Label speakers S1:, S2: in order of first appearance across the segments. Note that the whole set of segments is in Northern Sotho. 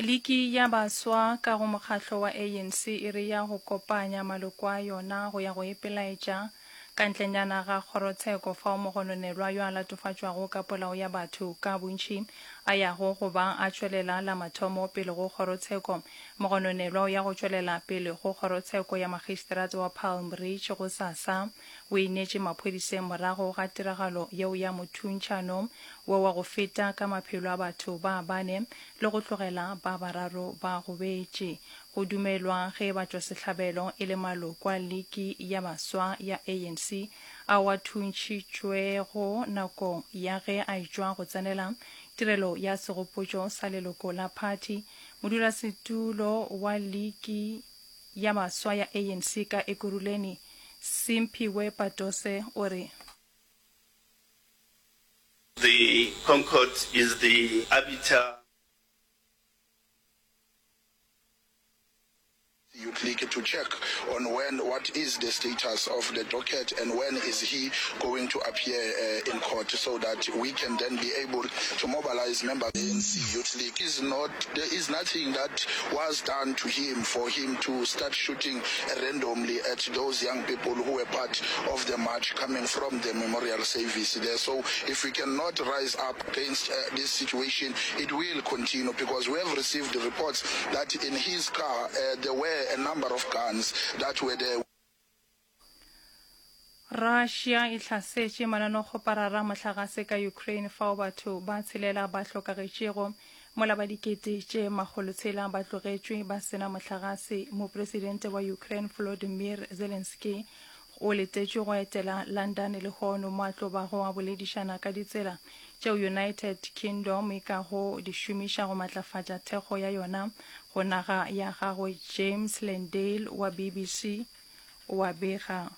S1: Liki ya baswa ka go mokgatlo wa ANC e re ya go kopanya maloko a yona go ya go ipelaetša ka ntlenyana ga kgorotsheko fao mogononelwa yo a latofatšwago ka polao ya batho ka bontši a yago go ba a tšwelela la mathomo pele go kgorotsheko. Mogononelwa o ya go tšwelela pele go kgorotsheko ya magistrata wa Palm Ridge gosasa. O ineetše maphodiseng morago ga tiragalo yeo ya mothuntšhano wo wa go feta ka maphelo a batho ba bane le go tlogela ba bararo ba gobetše. Go dumelwa ge batšwasehlabelo e le maloko a liki ya baswa ya ANC ao a thuntšhitšwego nakong ya ge a etšwa go tsenela tirelo ya segopotšo sa leloko la phathi. Modulasetulo wa liki ya baswa ya ANC ka Ekurhuleni, Simphiwe Patose o re.
S2: The ConCourt is the arbiter.
S3: Youth League to check on when what is the status of the docket and when is he going to appear uh, in court so that we can then be able to mobilize members ANC Youth League is not there is nothing that was done to him for him to start shooting randomly at those young people who were part of the march coming from the memorial service there. So if we cannot rise up against uh, this situation, it will continue because we have received reports that in his car uh, there were a number of guns that were there.
S1: Russia e hlasetše mananekgoparara a mohlagase ka Ukraine fao batho ba tshelela ba hlokagetšego mola ba dikete tše makgolotshela ba tlogetšwe ba sena mohlagase. Mopresidente wa Ukraine Volodymyr Zelensky o letetšwe go etela London lehono mo a tlo bago a boledišana ka ditsela tšeo United Kingdom e kago di šomiša go matlafatša thekgo ya yona go naga ya gagwe. James Landale wa BBC o a bega.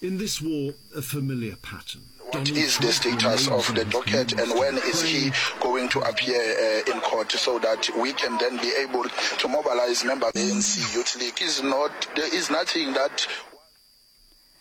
S4: In this war, a familiar pattern.
S3: What is the status of the docket and when is he going to appear uh, in court so that we can then be able to mobilize members ANC Youth League is not there is nothing that.